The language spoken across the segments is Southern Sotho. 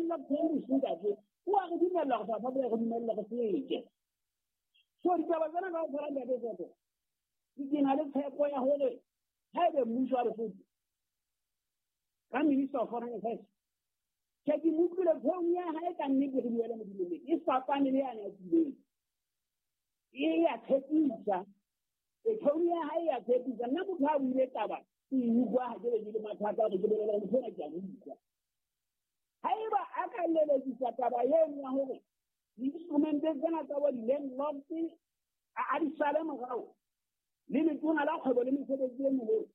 Landlocked countries, ntate, o a re dumella gore South Africa re dumelle re fete. So ditaba tsena kaofela, ntate Soto, ke na le tshepo ya hore haebe mmuso wa Lesotho ka Minister of Foreign Affairs, ke ke mo utlwile tone ya hae, ka nnete re buele Modimo nnete, e fapane le yane ya tileng, e ya tshepisa. E tone ya hae ya tshepisa. Nna motho a buile taba ke e utlwa, ha ke be ke le mathata hore ke bolele gore motho ona ke a mo utlwa. Haeba a ka lelekisa taba eno ya hore di-instrumente tsena tsa bo di-landlord a di sale morao le Letona la Kgwebo le Mesebetsi e Meholo,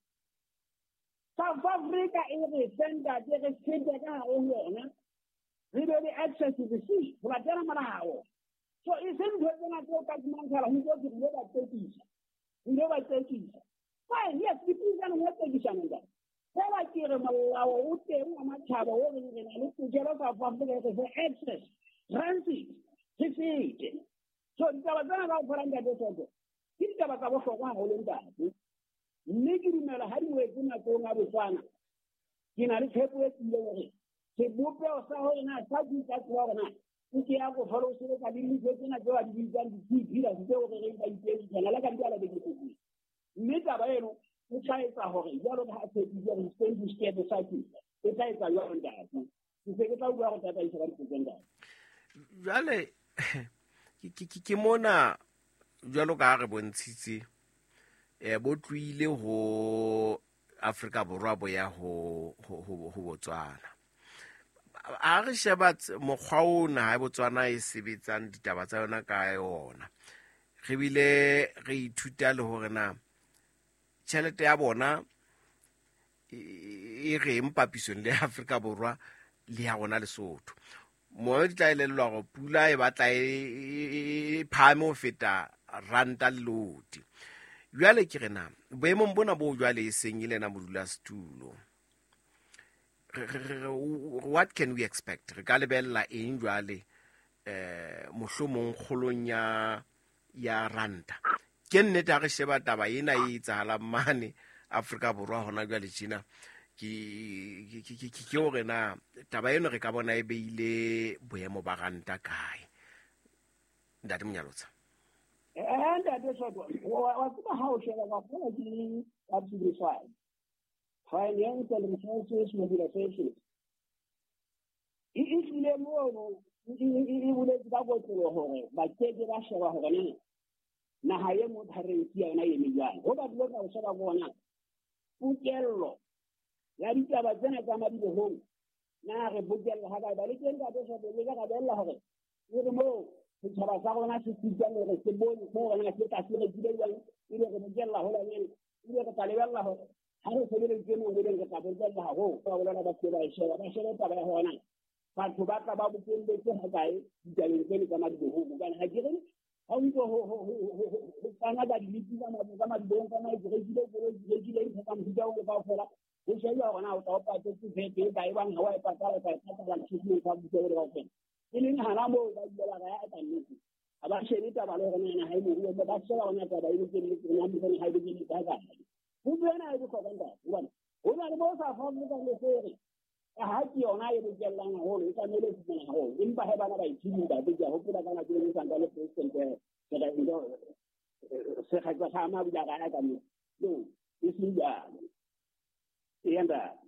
South Africa e re fe, ntate, re fete ka hare ho yona, re be le access to the sea ho latela molao. So e seng ntho tsena tseo ka fumantshwala ho ntse re ile ba tsekisa, re ile ba tsekisa. Fine, yes, dipuisano ya tsekisano, ntate, fela ke re molao o teng wa matjhaba o reng re na le tokelo. South Africa e re fe access, transit, re fete. So ditaba tsena kaofela, ntate Soto, ke ditaba tsa bohlokwa haholo, ntate, mme ke dumela ha di wetse matsohong a Botswana, ke na le tshepo e tiileng hore sebopeho sa hore na sa ka tsoa hore na nke ya go fela o sebetsa le dintho tsena tseo a di bitsang di-key pillars tseo re reng ba ipedisana le ka di bala beke tsetseng. Mme taba eno e tla etsa hore jwalo ka ha tshepisitse hore going to steer the cycle, e tla etsa jwalo, ntate. Ke se ke tla bua go tataisa ka dipotso, ntate. Jwale ke mona, jwalo ka ha re bontshitse, bo tlohile ho Afrika Borwa bo ya ho Botswana. A re sheba mokgwa ona ha Botswana e sebetsang ditaba tsa yona ka yona, re bile re ithuta le hore na tjhelete ya bona e reng papisong le Afrika Borwa le ya rona Lesotho. Mo di tla elellwa hore pula e batla e phahame ho feta ranta le loti. Jwale ke re na boemong bona bo jwale e seng e le ena modulasetulo, what can we expect? Re ka lebella eng jwale, mohlomong kgolong ya ranta? Ke nnete, ha re sheba taba ena e etsahalang mane Afrika Borwa hona jwale tjena, ke hore na taba eno re ka bona e beile boemo ba ranta kae, ntate Monyalotsa? Ntate Soto, wa tseba, ha o sheba ka kgona ke ka Financial Resources Mobilization e tlile mono, e boletse ka kotlolo hore ba keke ba sheba hore na naha e mo currency ya yona e eme jwang. Ho batho ba ka ho sheba bona pokello ya ditaba tsena tsa madibohong, na re bokella ha kae ba le teng, ntate Soto, le ka rabella hore e re moo setjhaba sa rona se sitang hore se bone hore na se tla se rekile jwang, ebe re bokella holanyane, ebe re tla lebella hore ha re sebeleditse moo eleng re tla bokella haholo. Ba bolela ba se ba e sheba, ba shebe taba ya hona batho ba tla ba bokelletse ha kae ditabeng tseno tsa madibohong, hobane ha ke re ha o ntse ho fana ka dilipi tsa madibohong ka mae, ke rekile koloi, ke rekile ntho tsa mofuta o kaofela, ho shejuwa hore na o tla o patetse VAT e kae, bang ha wa e patala, o tla e patala ntho tsa mofuta o kaofela. E leng hana moo ba ile ba raya ka nnete ha ba shebe taba le hore na ha e moruo, ba sheba hona taba e bokelletse hona mosane ha e bokelletse ha kae. Potso ena e bohlokwa, ntate, hobane ho na le bo sa Afrika le sere ka ha ke yona e bokellang haholo, e tlamehile e fumana haholo, empa he bana ba ithini, ntate, ke a hopola ka nako e sanka le president Sekgetsa sa ma bula raya ka moo no e seng jwalo. Eya, ntate.